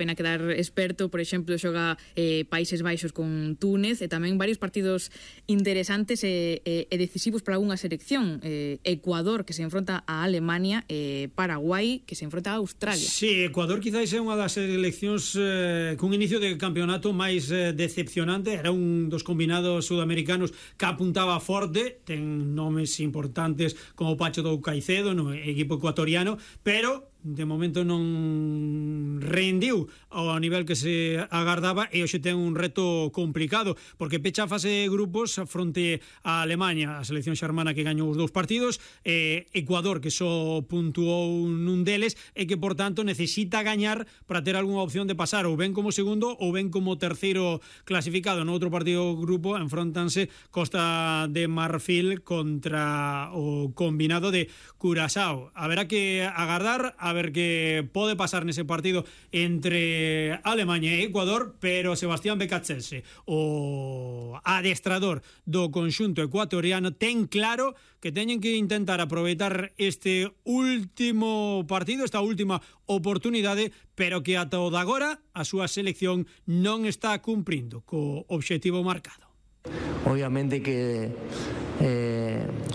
pena quedar experto, por exemplo, xoga Países Baixos con Túnez, e tamén varios partidos interesantes e decisivos para algunha selección. Ecuador, que se enfronta a Alemania, Paraguai, que se enfronta a Australia. Sí, Ecuador quizás é unha das seleccións cun inicio de campeonato máis decepcionante. Era un dos combinados sudamericanos que apuntaba forte, ten nomes importantes como Pacho do Caicedo no equipo ecuatoriano, pero de momento non rendiu ao nivel que se agardaba, e hoxe ten un reto complicado porque pecha a fase de grupos fronte a Alemania, a selección xermana que gañou os 2 partidos, Ecuador que só puntuou nun deles e que por tanto necesita gañar para ter algunha opción de pasar ou ben como segundo ou ben como terceiro clasificado. No outro partido grupo enfrontanse Costa de Marfil contra o combinado de Curazao. Haberá que agardar a ver que pode pasar nese partido entre Alemania e Ecuador, pero Sebastián Becacese, o adestrador do conxunto ecuatoriano, ten claro que teñen que intentar aproveitar este último partido, esta última oportunidade, pero que ata o de agora a súa selección non está cumprindo co obxectivo marcado. Obviamente que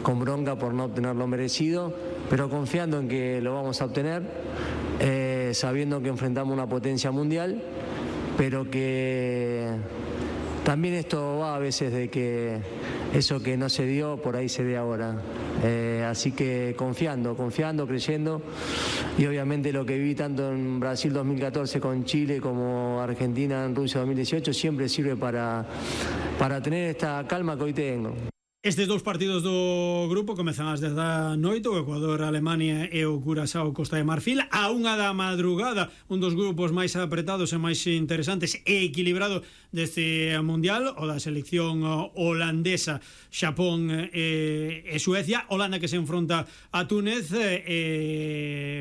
con bronca por no obtener lo merecido, pero confiando en que lo vamos a obtener, sabiendo que enfrentamos una potencia mundial, pero que también esto va a veces de que eso que no se dio, por ahí se ve ahora. Así que confiando, creyendo, y obviamente lo que viví tanto en Brasil 2014 con Chile como Argentina en Rusia 2018 siempre sirve para tener esta calma que hoy tengo. Estes 2 partidos do grupo comezan ás 10 da noite, o Ecuador, Alemania e o Curazao, Costa de Marfil. A 1 da madrugada, un dos grupos máis apretados e máis interesantes e equilibrado deste mundial, o da selección holandesa, Xapón e Suecia. Holanda que se enfronta a Túnez,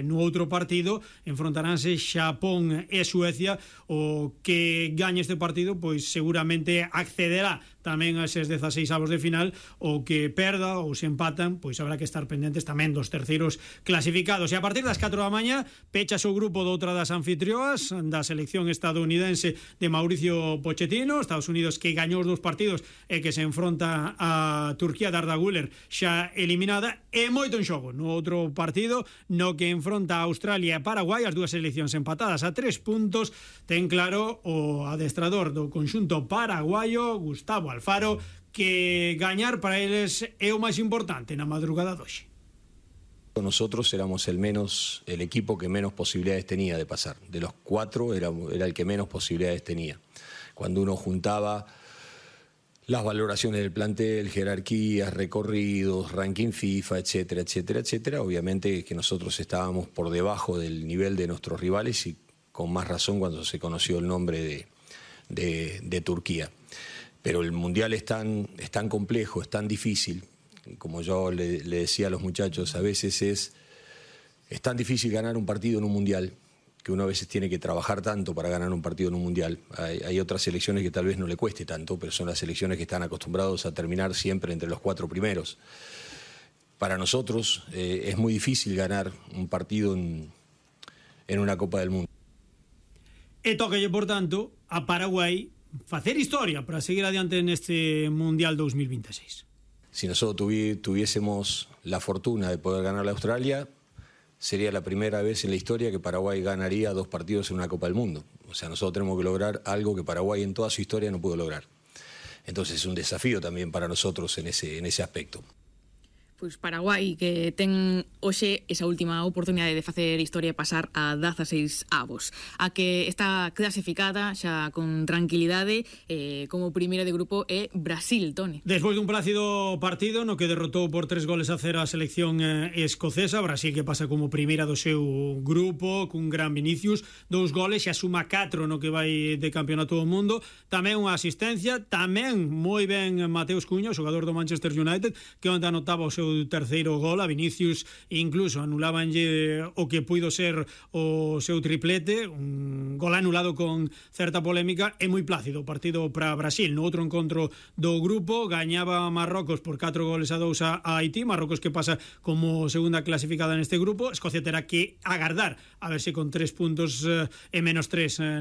no outro partido enfrontaránse Xapón e Suecia. O que gañe este partido pois seguramente accederá tamén a eses 16 avos de final. O que perda ou se empatan, pois habrá que estar pendentes tamén dos terceiros clasificados. E a partir das 4 da mañá pechas o grupo doutra das anfitrioas, da selección estadounidense de Mauricio Pochettino, Estados Unidos, que gañou os 2 partidos e que se enfronta a Turquía de Arda Güler, xa eliminada, e moito en xogo no outro partido no que enfronta a Australia e Paraguai, as 2 seleccións empatadas a 3 puntos. Ten claro o adestrador do conxunto paraguayo, Gustavo Alfaro, que gañar para eles é o máis importante na madrugada doxe. Nosotros éramos el equipo que menos posibilidades tenía de pasar. De los 4 era el que menos posibilidades tenía. Cuando uno juntaba las valoraciones del plantel, jerarquías, recorridos, ranking FIFA, etcétera, etcétera, etcétera, obviamente que nosotros estábamos por debajo del nivel de nuestros rivales, y con más razón cuando se conoció el nombre de Turquía. Pero el mundial es tan complejo, es tan difícil, como yo le decía a los muchachos, a veces es tan difícil ganar un partido en un mundial, que uno a veces tiene que trabajar tanto para ganar un partido en un mundial. Hay otras selecciones que tal vez no le cueste tanto, pero son las selecciones que están acostumbrados a terminar siempre entre los 4 primeros. Para nosotros es muy difícil ganar un partido en una Copa del Mundo. E tócalle, por tanto, a Paraguai facer historia para seguir adiante neste Mundial 2026. Si nosotros tuviésemos la fortuna de poder ganar a Australia, sería la primera vez en la historia que Paraguay ganaría 2 partidos en una Copa del Mundo. O sea, nosotros tenemos que lograr algo que Paraguay en toda su historia no pudo lograr. Entonces es un desafío también para nosotros en ese aspecto. Pois Paraguai, que ten hoxe esa última oportunidade de facer historia e pasar a 16 avos. A que está clasificada xa con tranquilidade como primeira de grupo é Brasil, Toni. Despois dun plácido partido no que derrotou por 3-0 a selección escocesa, Brasil que pasa como primeira do seu grupo cun gran Vinicius, 2 goles, xa suma 4 no que vai de campeonato do mundo, tamén unha asistencia, tamén moi ben Mateus Cunha, xogador do Manchester United, que onde anotaba o seu terceiro gol. A Vinicius incluso anulabanlle o que puido ser o seu triplete, un gol anulado con certa polémica. É moi plácido o partido para Brasil. No outro encontro do grupo gañaba Marrocos por 4-2 a Haití, Marrocos que pasa como segunda clasificada neste grupo. Escocia terá que agardar a ver se con 3 puntos e menos 3